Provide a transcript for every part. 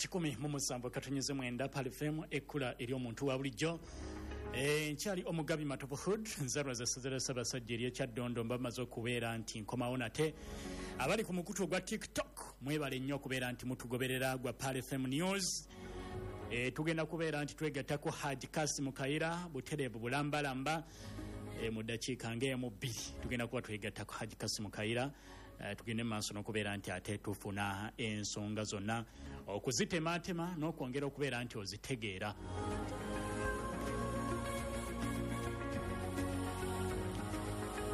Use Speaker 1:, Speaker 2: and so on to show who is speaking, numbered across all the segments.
Speaker 1: 107.9 Pearl FM, ekkula ery'omuntu wa bulijjo. Nkyali omugabi Matovu Hood, nzalwa za ssaza lya Ssaabasajja ery'Ekyaddondo. Mba maze okubeera nti nkomawo nate. Abali ku mukutu ogwa TikTok, mwebale nnyo okubeera nti mutugoberera gwa Pearl FM News. Tugenda kubeera nti twegattako Haji Kasim Kayira butereevu bulambalamba. Mu ddakiika ng'emu bbiri tugenda kuba twegattako Haji Kasim Kayira. Tugende maaso n'okubeera nti ate tufuna ensonga zonna okuzitematema n'okwongera okubeera nti ozitegeera.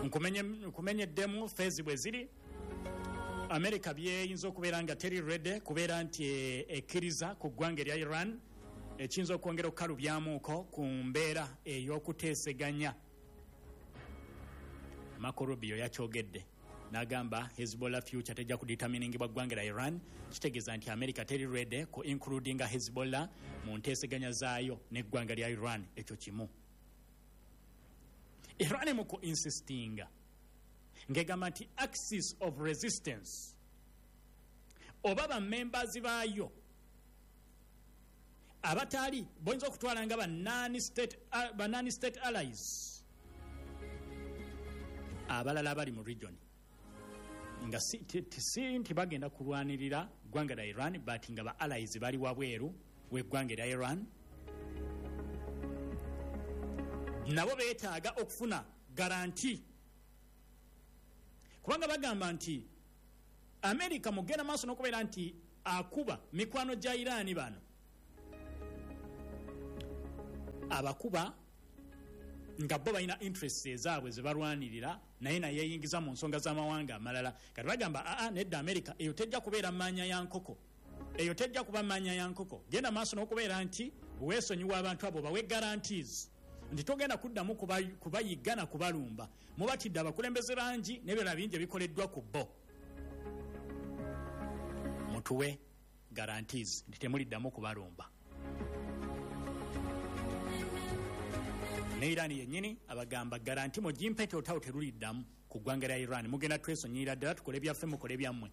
Speaker 1: Nkumenyeddemu feezi bwe ziri. Amerika byeyinza okubeera nga teri ready kubeera nti ekkiriza ku ggwanga erya Iran, ekiyinza okwongera okukalubyamuuko ku mbeera ey'okuteeseganya. Marco Rubio yakyogedde n'agamba Hezbollah future tejja kudeterminingibwa ggwanga lya Iran. Kitegeeza nti America teri ready ku includinga Hezbollah mu nteeseganya zaayo n'eggwanga lya Iran. Ekyo kimu. Iran mu ku insistinga ng'egamba nti axis of resistance oba bamembers baayo abatali boyinza okutwala nga ba non-state allies abalala abali mu region, nga si nti bagenda kulwanirira ggwanga lya Iran, but nga ba allies bali wabweru w'eggwanga erya Iran, nabo beetaaga okufuna guarantee, kubanga bagamba nti America mugenda maaso n'okubeera nti akuba mikwano gya Iran bano abakuba nga bo balina interests ezaabwe ze balwanirira, naye nayeyingiza mu nsonga z'amawanga amalala. Kati bagamba aa, nedda, America eyo tejja kubeera maanya ya nkoko, eyo tejja kuba maanya ya nkoko. Genda maaso n'okubeera nti weesonyiwa abantu abo, bawe guarantees nti togenda kuddamu kubayigga na kubalumba. Mubatidde abakulembeze bangi n'ebirala bingi ebikoleddwa ku bo, mutuwe guarantees nti temuliddamu kubalumba. Ne Iran yennyini abagamba guarantee mugimpe nti olutalo teruliddamu ku ggwanga lya Iran, mugenda twesonyiyira ddala, tukole byaffe, mukole byammwe.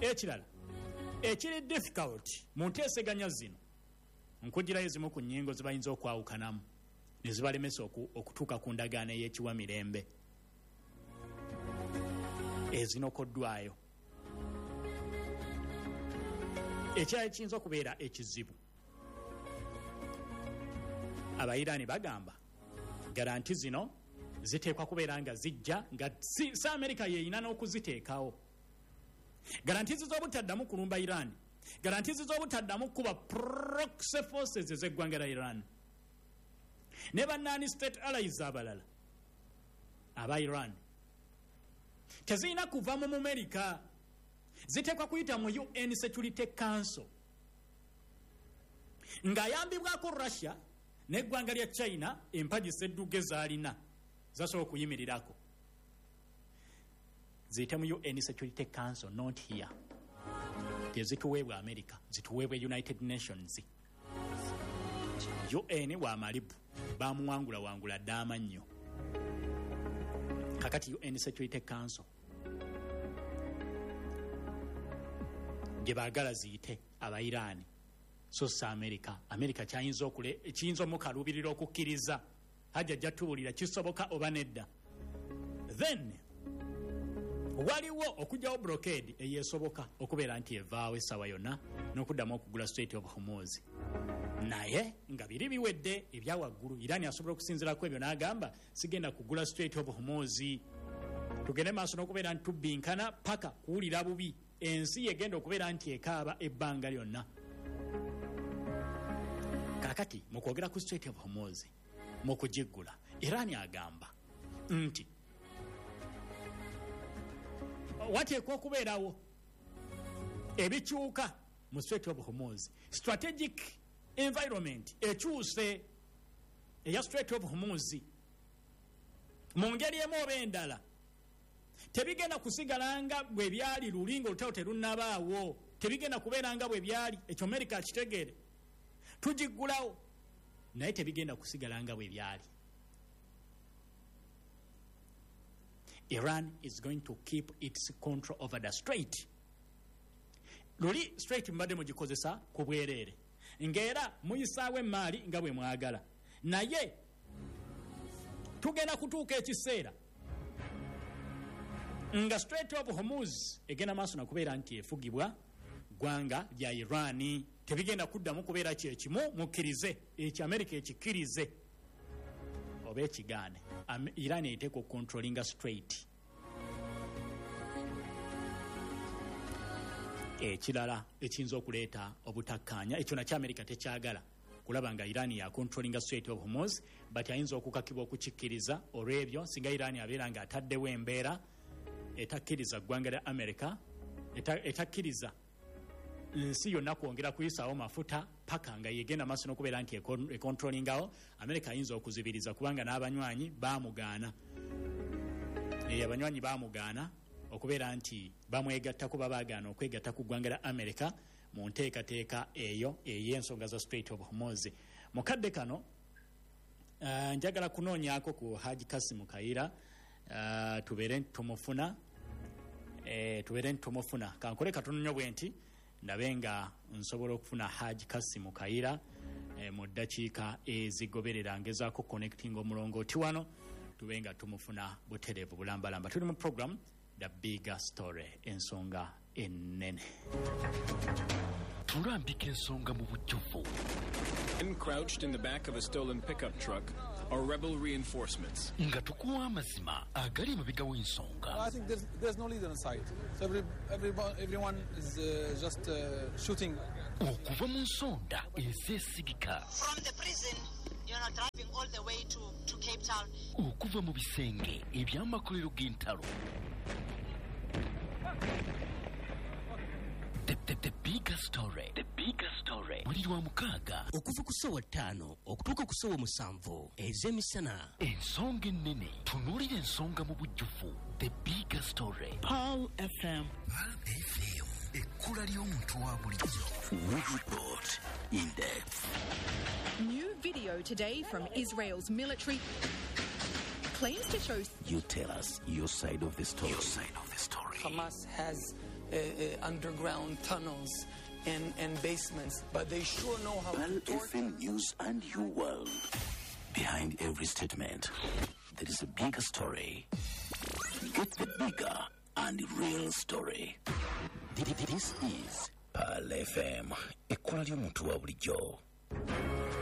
Speaker 1: Ekirala ekiri difficult mu nteeseganya zino, nkugirayo zimu ku nnyingo zibayinza okwawukanamu ne zibalemesa okutuuka ku ndagaano ey'ekiwa mirembe ezinokoddwayo. Ekirala ekiyinza okubeera ekizibu, Abairaani bagamba guarantee zino ziteekwa kubeera nga zijja nga si Amerika yeyina n'okuziteekawo. Guarantees z'obutaddamu kulumba Iran, guarantees z'obutaddamu kuba proxy forces ez'eggwanga lya Iran ne ba non-state allies abalala aba Iran, tezirina kuva mu Mumerika, ziteekwa kuyita mu UN Security Council ng'ayambibwako Russia n'eggwanga lya China. Empagi sedduge zaalina zasobola okuyimirirako ziyite mu UN Security Council, not here. Tezituweebwa America, zituweebwa United Nations. UN wa malibu bamuwangula wangula dda amannyo. Kakati UN Security Council gye baagala ziyite Abairaani, so si America. America kyayinza kiyinza omukaluubirira okukkiriza. Hajja ajja tubuulira kisoboka oba nedda. Then waliwo okugyawo blockade eyesoboka okubeera nti evaawo essaawa yonna n'okuddamu okugula Strait of Hormuz, naye nga biri biwedde ebyawaggulu. Iran asobola okusinziirako ebyo n'agamba sigenda kugula Strait of Hormuz, tugende maaso n'okubeera nti tubbinkana paka kuwulira bubi, ensi yegenda okubeera nti ekaaba ebbanga lyonna. Kakati mu kwogera ku Strait of Hormuz, mu kugiggula, Iran agamba nti wateekwa okubeerawo ebikyuka mu Strait of Hormuz. Strategic environment ekyuse eya Strait of Hormuz mu ngeri emu oba endala. Tebigenda kusigala nga bwe byali luli nga olutalo terunnabaawo, tebigenda kubeera nga bwe byali. Ekyo Amerika akitegeere. Tugiggulawo, naye tebigenda kusigala nga bwe byali. Iran is going to keep its control over the strait. Luli Strait mbadde mugikozesa ku bwereere, ng'era muyisaawo emaali nga bwe mwagala, naye tugenda kutuuka ekiseera nga Strait of Hormuz egenda maaso nakubeera nti efugibwa ggwanga lya Iran. Tebigenda kuddamu kubeera kyekimu. Mukkirize ekyo, Amerika ekikkirize oba ekigaane, Iran eteeka okucontrollinga Strait. Ekirala ekiyinza okuleeta obutakkaanya, ekyo nakyo Amerika tekyagala kulaba nga Iran yacontrollinga Strait of Hormuz, but ayinza okukakibwa okukikkiriza olw'ebyo singa Iran abeera nga ataddewo embeera etakkiriza ggwanga lya America, etakkiriza nsi yonna kwongera kuyisaawo mafuta paka nga yegenda maaso n'okubeera nti econtrollingawo. Amerika ayinza okuzibiriza kubanga n'abanywanyi bamugaana. Abanywanyi bamugaana okubeera nti bamwegattako, babagaana okwegatta ku ggwanga lya Amerika mu nteekateeka eyo ey'ensonga za Strait of Hormuz. Mu kadde kano njagala kunoonyaako ku Haji Kasimu Kayira, tubeere tumufuna, tubeere tumufuna. Kankole katono nnyo bwe nti ndabe nga nsobola okufuna Haji Kasimu Kayira mu ddakiika ezigoberera. Ngezaako connecting omulongooti wano, tube nga tumufuna butereevu bulambalamba. Tuli mu program The Bigger Story, ensonga ennene.
Speaker 2: Tulambika ensonga mu bujjuvu.
Speaker 3: Men crouched in the back of a stolen pickup truck are rebel reinforcements.
Speaker 2: Nga tukuwa amazima agali emabega w'ensonga.
Speaker 4: I think there's no leader inside. So everyone is just shooting.
Speaker 2: Okuva mu nsonda ezeesigika.
Speaker 5: From the prison, driving all the way to Cape Town.
Speaker 2: Okuva mu bisenge eby'amakolero g'entalo. The Bigger Story. The Bigger Story. Buli lwa mukaaga
Speaker 6: okuva ku ssaawa 5 okutuuka ku ssaawa 7 ez'emisana.
Speaker 2: Ensonga ennene, tunuulira ensonga mu bujjuvu. The Bigger Story.
Speaker 7: Pearl FM.
Speaker 2: Pearl FM. Ekkula ly'omuntu wa bulijjo.
Speaker 8: We report in depth.
Speaker 9: New video today from Israel's military claims to show.
Speaker 8: You tell us your side of the story. Your side of the story.
Speaker 10: Hamas has underground tunnels and basements, but they sure know how
Speaker 8: Pearl
Speaker 10: to torture.
Speaker 8: FM News and your world. Behind every statement, there is a bigger story. Get the bigger and real story. This is Pearl FM. Ekkula ly'omuntu wa bulijjo.